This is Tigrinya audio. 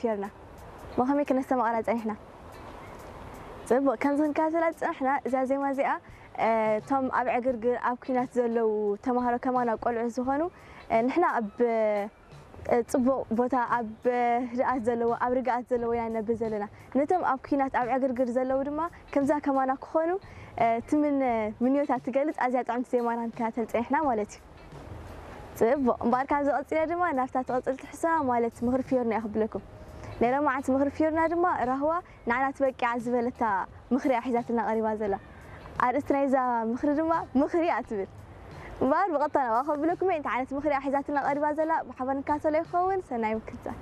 ጌርና። ብኸመይ ክነስተማቕራ ጸኒሕና? ጽቡቕ፣ ከምዚ ክንከታተላ ዝጸናሕና፣ እዛ ዜማ እዚኣ፣ እ፣ እቶም ኣብ ዕግርግር፣ ኣብ ኲናት ዘለዉ ተማሃሮ ከማና ቆልዑት ዝኾኑ፣ እ፣ ንሕና ኣብ፣ እ፣ ጽቡቕ ቦታ፣ ኣብ፣ እ፣ ህድኣት ዘለዎ፣ ኣብ ርግኣት ዘለዎ ኢና ንነብር ዘለና። ነቶም ኣብ ኲናት፣ ኣብ ዕግርግር ዘለዉ ድማ ከምዛ ከማና ክኾኑ፣ እ፣ ትምነ ምንዮታ ትገልጽ ኣዝያ ጥዕምቲ ዜማ ኢና ክንከታተል ጸኒሕና ማለት እዩ። ጽቡቕ። እምበኣር ካብዚ ቀጺለ ድማ ናብታ ትቕጽል ትሕዝቶና ማለት ምኽሪ ፊዮርና እየ ክብለኩም። ናይ ሎማዓንቲ ምኽሪ ፊዮርና ድማ ራህዋ ንዓና ትበቂዓ ዝበለታ ምኽሪ እያ ሒዛትና ቀሪባ ዘላ። ኣርእስቲ ናይዛ ምኽሪ ድማ ምኽሪ እያ ትብል። እምበኣር ብቐጥታ ናብኣ ከብለኩም እየ። እንታይ ዓይነት ምኽሪ እያ ሒዛትና ቀሪባ ዘላ ብሓባር ንከታተሎ ይኸውን። ሰናይ ምክትታል።